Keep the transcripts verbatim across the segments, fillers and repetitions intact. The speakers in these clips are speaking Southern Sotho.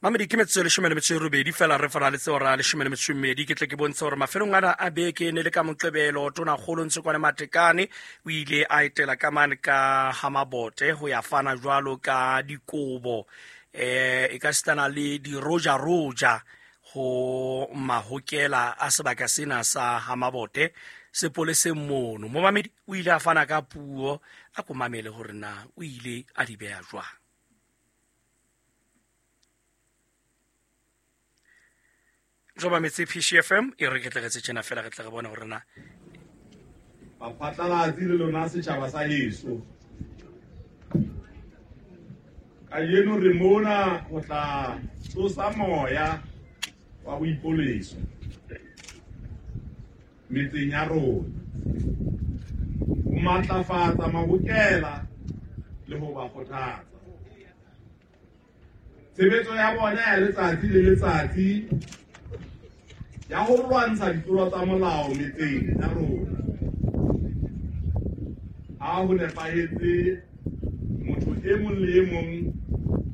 Mamedi ke metsotso e leshome le metso e robedi fela re faraletse hora leshome le metso e mmedi. Ke tle ke bontshe hore mafelong ana a beke ne le ka Moqebelo Tonakgolo Ntshekwane Matekane o ile a etela ka mane ka Hamabote ho ya fana jwalo ka dikobo eh e ka sitana le dirojaroja ho mahokela a sebaka sena sa Hamabote sepoleseng mono. Momamedi o ile a fana ka puo a ko mamele hore na o ile a di beha jwang. Joba metse P C F M e re ke tle re tjena fela re tle re bone hore na baphatlalatsi le lona setjhaba sa heso. Kajeno re mona ho tla tsosa moya wa boipoleso metseng ya rona, ho matlafatsa mahokela le ho ba kgothatsa. Tshebetso ya bona ya letsatsi le letsatsi ya ho lwantsha ditlolo tsa molao metseng ya rona ha ho nepahetse, motho e mong le e mong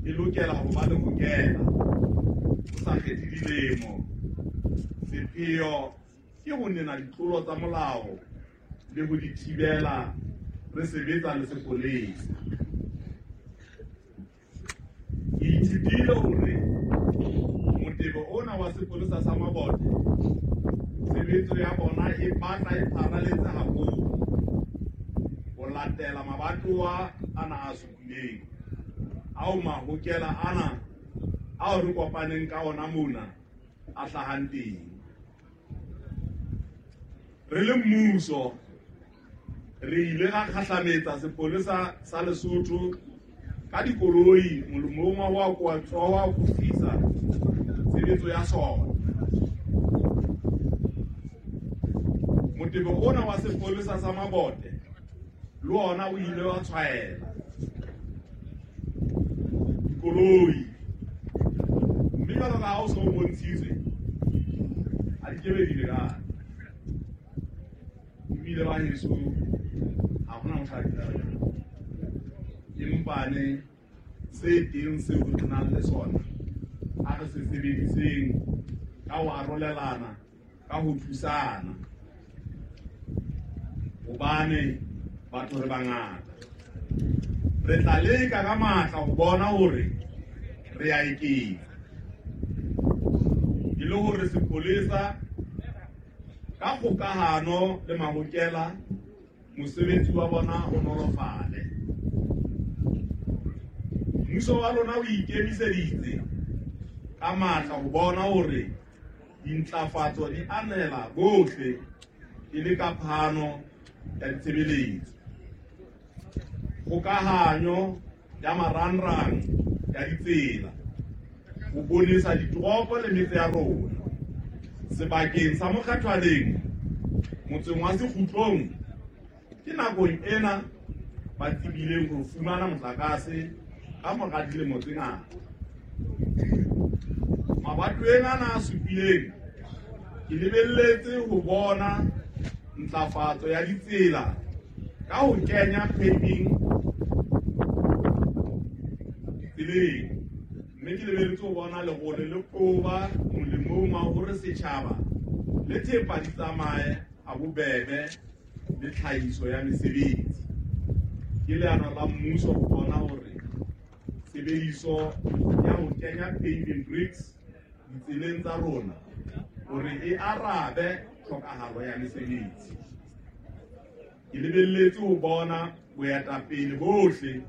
e lokela ho ba le hokela ho sa kgethe dilemo. Sepheo ke ho nena ditlolo tsa molao le ho di thibela re sebetsa le sepolesa. Ke ithutile hore motebo ona wa sepolesa sa Mabote tshebetso ya bona e batla e pharaletse haholo ho latela mabatowa ana a supileng ao mahokela ana ao re kopaneng ka ona mona a hlahang teng. Re le mmuso re ile ra kgahlametsa sepolesa sa Lesotho ka dikoloi molemong wa ho wa akofisa tshebetso ya sona. Motebo ona wa sepolesa sa Mabote le ona o ile wa tshwaela dikoloi, mme jwalo ka ha o so bontshitswe a di kebe di lekane. Ebile ba heso ha hona motho a di empane se teng seo re nang le sona a re se sebediseng ka ho arolelana, ka ho thusana, hobane batho re bangata. Re tla leka ka matla ho bona hore re a eketsa e le hore sepolesa ka kgokahano le mahokela mosebetsi wa bona o nolofale. Mmuso wa lona o ikemiseditse ka matla ho bona hore dintlafatso di anela bohle e le ka phano ya ditshebeletso, kgokahanyo ya marangrang ya ditsela, ho bonesa ditoropo le metse ya rona. Sebakeng sa Mokgathwaneng motseng wa Sekgutlong ke nakong ena ba tsebileng ho fumana motlakase ka mora dilemo tse ngata. Mabatoweng ana a supileng ke lebelletse ho bona ntlafatso ya ditsela ka ho kenya paving ditseleng, mme ke lebelletse ho bona lerole le qoba molemong wa hore setjhaba le thepa di tsamaye ha bobebe le tlhahiso ya mesebetsi. Ke leano la mmuso ho bona hore tshebediso ya ho kenya paving bricks ditseleng tsa rona hore e arabe tlhokahalo ya mesebetsi. Ke lebelletse ho bona boetapele bohle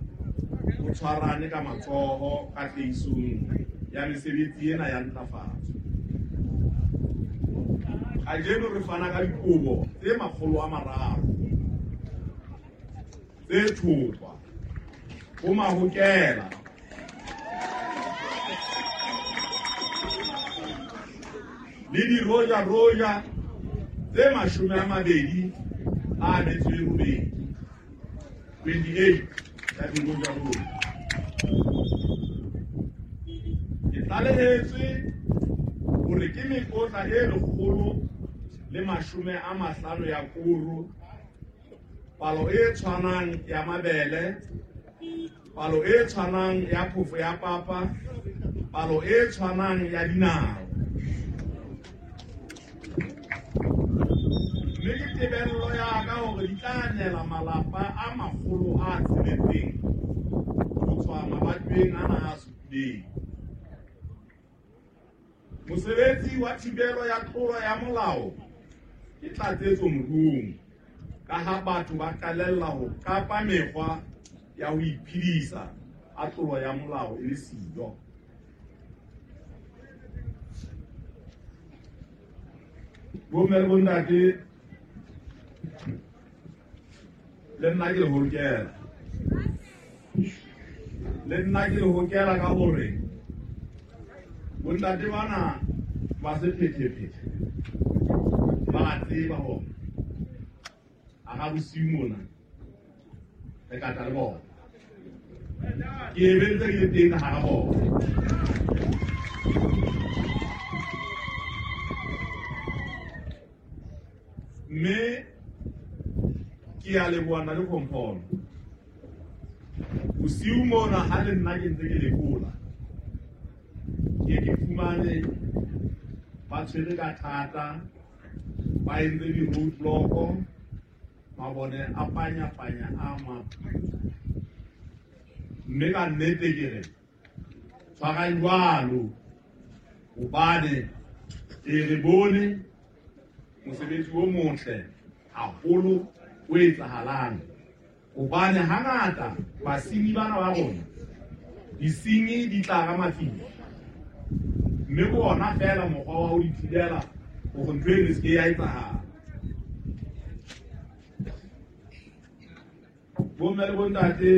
bo tshwarane ka matsoho katlehisong ya mesebetsi ena ya ntlafatso. Kajeno re fana ka dikobo tse makgolo a mararo tse thotwa ho mahokela le dirojaroja tse mashome a mabedi a metso e robedi, twenty-eight ya dirojaroja. Ke tlalehetswe hore ke mekotla e lekgolo le mashome a mahlano ya koro, palo e tshwanang ya mabele, palo e tshwanang ya phofo ya papa palo e tshwanang ya dinao. Mme ke tebello ya ka hore di tla nela malapa a makgolo a tsheletseng ho tswa mabatoweng ana a supileng. Mosebetsi wa thibelo ya tlolo ya molao ke tlatsetso moruong, ka ha batho ba qalella ho qapa mekgwa ya ho iphedisa ha tlolo ya molao e le siyo. Bomme le bontate, le nna ke le hokela. Le nna ke le hokela ka hore bontate bana ba sephethephethe ba a tseba hore a ga bosiu mona re ka tla le bona. Ke e bentse ke le teng hara bona. Mme ke a leboha na le komphono. Bosiu mona ha le nna ke ntse ke lekola, ke ke fumane ba tshwere ka thata, ba entse di-roadblock, mabone a panya-panya a ma. Mme ka nnete ke re tshwarang jwalo, hobane ke re bone mosebetsi o motle haholo o etsahalang. Hobane hangata basenyi bana ba rona, disenyi di tla ka mafifi, mme ke ona feela mokgwa wa ho di thibela hore ntho eno e se ke ya etsahala. Bomme le bontate,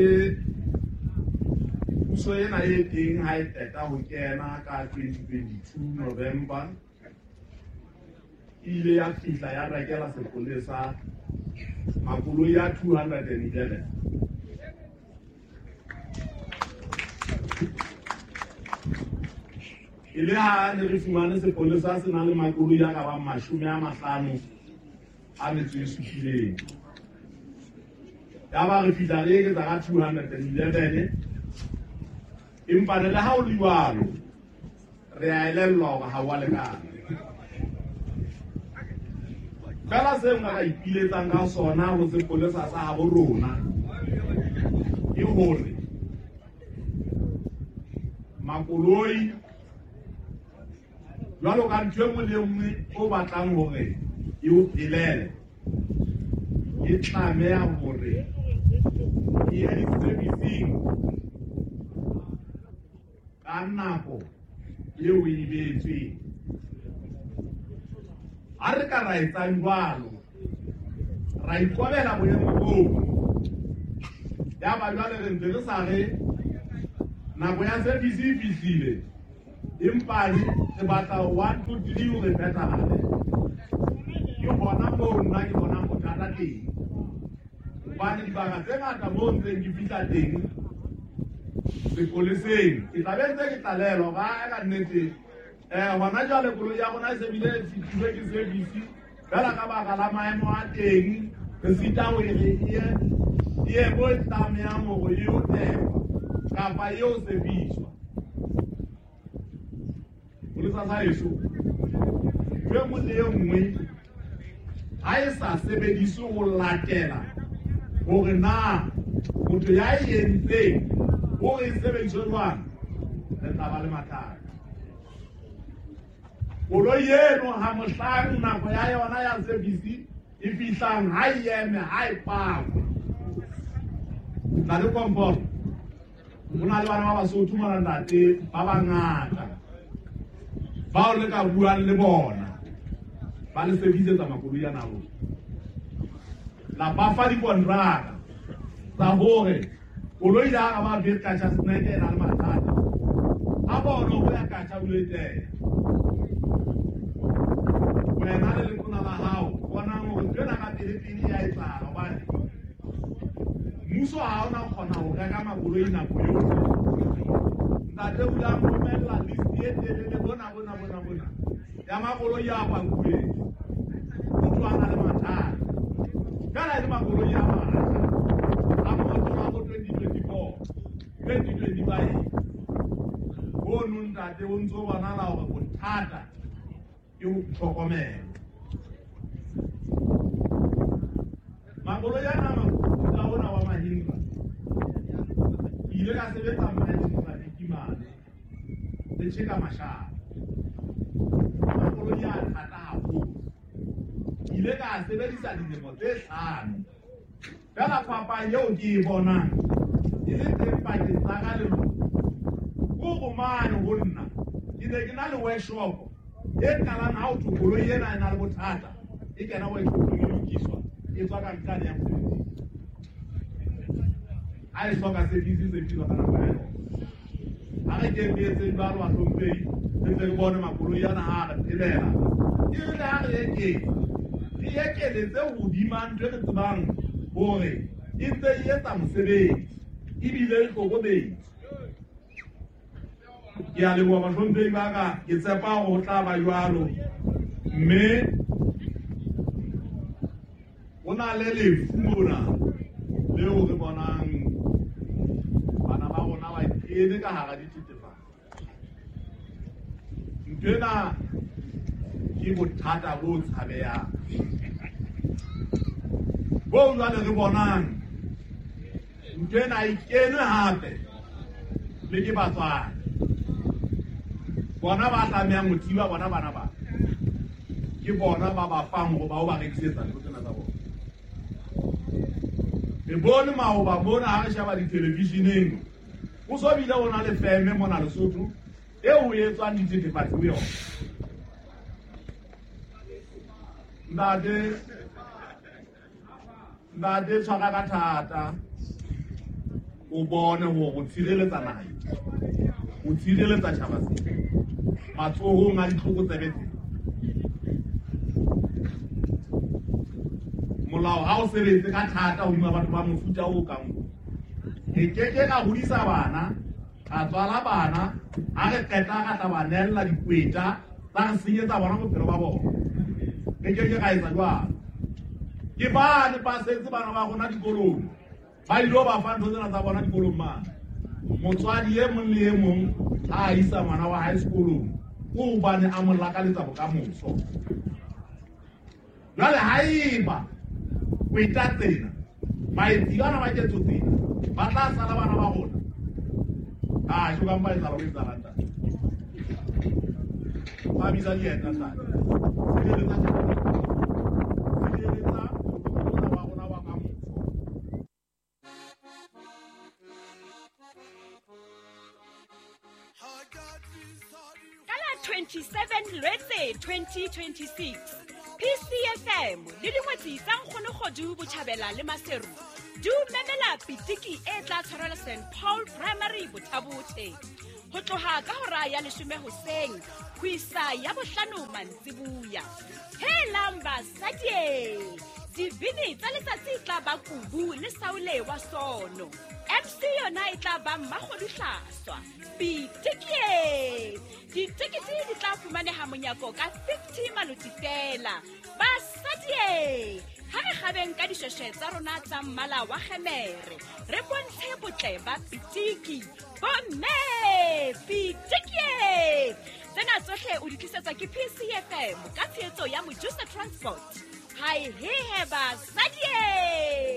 puso ena e teng ha e qeta ho kena ka twenty twenty-two November, e ile ya fihla ya rekela sepolesa makoloi a two hundred and eleven. E le ha ne re fumane sepolesa se nang le makoloi a ka bang mashome a mahlano a metso e supileng. Yaba re fihla re eketsa ka two hundred and eleven. Empa le ha ho le jwalo, re a elellwa hore ha wa lekana. Fela seo nka ka ipiletsang ka sona ho sepolesa sa habo rona ke hore makoloi jwalo ka ntho e nngwe le e nngwe o batlang hore e o phelele, e tlameha hore e ye di-servicing ka nako eo e beetsweng. Ha re ka ra etsang jwalo, ra ikobela boemo boo, ya ba jwale re ntse re sa re nako ya service e fihlile, empa re batla one two three hore phethahale. Ke hona moo nna ke bonang bothata teng, hobane dibaka tse ngata moo ntseng ke fihla teng sepoleseng, ke tla be ntse ke tlalelwa hore ae ka nnete eh hona jwale koloi ya rona e se bile e fihlile ke service, fela ka baka la maemo a teng re sita ho e re e ye mo e tlamehang hore e yo tekwa kapa e yo sebediswa. Polisa sa heso, ntho e nngwe le e nngwe ha e sa sebediswe ho latela hore na motho ya e entseng hore e sebediswe jwang, re tla ba le mathata. Koloi eno ha mohlang nako ya yona ya service e fihlang, ha e eme, ha e pakwe. Tla le komporo, ho na le bana ba Basotho mona ntate ba bangata bao le ka buang le bona, ba le servisetsa makoloi ana a rona. La ba fa dikontraka tsa hore koloi ya ka ba betla snake e na le mathata, a bona ho ya katjha o le teng. Wena le letona la hao bonang hore ntho ena ka pele-pele ya etsahala, hobane mmuso ha ona kgona ho reka makoloi nako yohle. Ntate o ile a nromella list e telele bona bona bona bona ya makoloi a pakuweng. Motho a na le mathata fela e le makoloi a matjha a motho wa bo twenty twenty-four, twenty twenty-five. Mono ntate o ntso bonahala hore bothata ke ho tlhokomela. Makoloi ana a mofuta ona wa Mahindra, ke ile ka sebetsa Mahindra Lekimane le Tjheka Mashaba. Makoloi a thata haholo. Ke ile ka sebedisa dilemo tse hlano. Feela phapang eo ke e bonang e le teng pakeng tsa ka le lona, ke hore mane ho nna ke ne ke na le workshop e qalang ha ho thwe koloi ena e na le bothata, e kena workshopong e lokiswa, e tswa ka nqane ya mosebetsing. Ha e hloka service, service ka nako ya yona. Ha re ke re etseng jwalo bahlomphehi, re ntse re bone makoloi ana ha re phelela. E re le ha re eketsa, re ekeletse hodima ntho e re tsebang hore e ntse e etsa mosebetsi ebile e hlokometse. Ke a leboha bahlomphehi ba ka, ke tshepa hore ho tla ba jwalo. Mme ho na le lefu mona leo re bonang bana ba rona ba kene ka hara dithethefatsi. Ntho ena ke bothata bo tshabehang, bo jwale re bonang ntho ena e kenwe hape le ke batswadi. Bona ba tlamehang ho thiba bona bana ba, ke bona ba ba fang hore ba o ba rekisetsa ntho tsena tsa bona. Re bone maoba mona ha re sheba dithelevisheneng, ho so bile ho na le feme mona Lesotho eo ho etswang dithethefatsi ho yona. Ntate, ntate tshwara ka thata, o bone hore o tshireletsa naha, o tshireletsa tjhaba sena matsohong a ditlokotsebe tsena. Molao ha o sebetse ka thata hodima batho ba mofuta o kang o. Re keke ra hodisa bana, ra tswala bana, ha re qeta ra tla ba nella dikweta tsa re senyetsa bona bophelo ba bona. Re keke ra etsa jwalo. Ke bane ba setse bana ba rona dikolong, ba ilo ba fa ntho tsena tsa bona dikolong mane. Motswadi e mong le e mong ha a isa ngwana wa hae sekolong, o hobane a mo lakaletsa bokamoso. Jwale haeba kweta tsena, baetsi bana ba ketso tsena, ba tla sala bana ba rona. Ah, jo ka mpa etsahala ho etsahala ntate. Ba bitsa dieta ntate. Tshireletsa tjhaba. Tshireletsa moloko wa rona wa kamoso. Ka la twenty-seven Lwetse twenty twenty-six, P C F M le dingwetsi tsa Nkgonokgodu Botjhabela le Maseru di o memela pitiki e tla tshwarelwa Saint Paul Primary Bothabothe ho tloha ka hora ya leshome hoseng ho isa ya bohlano mantsibuya. Helang basadi, dibini tsa letsatsi e tla ba Kubu le Saule wa Sono. M C yona e tla ba Mmakgodu Hlaswa. Pitiki! Ditekete di tla fumaneha monyako ka fifty maloti fela. Basadi, ha re kgabeng ka dishweshwe tsa rona tsa mmala wa kgemere, re bontshe botle ba pitiki. Bomme, pitiki! Tsena tsohle o di tlisetswa ke P C F M ka tshehetso ya Mojusa Transport. Hai he he basadi!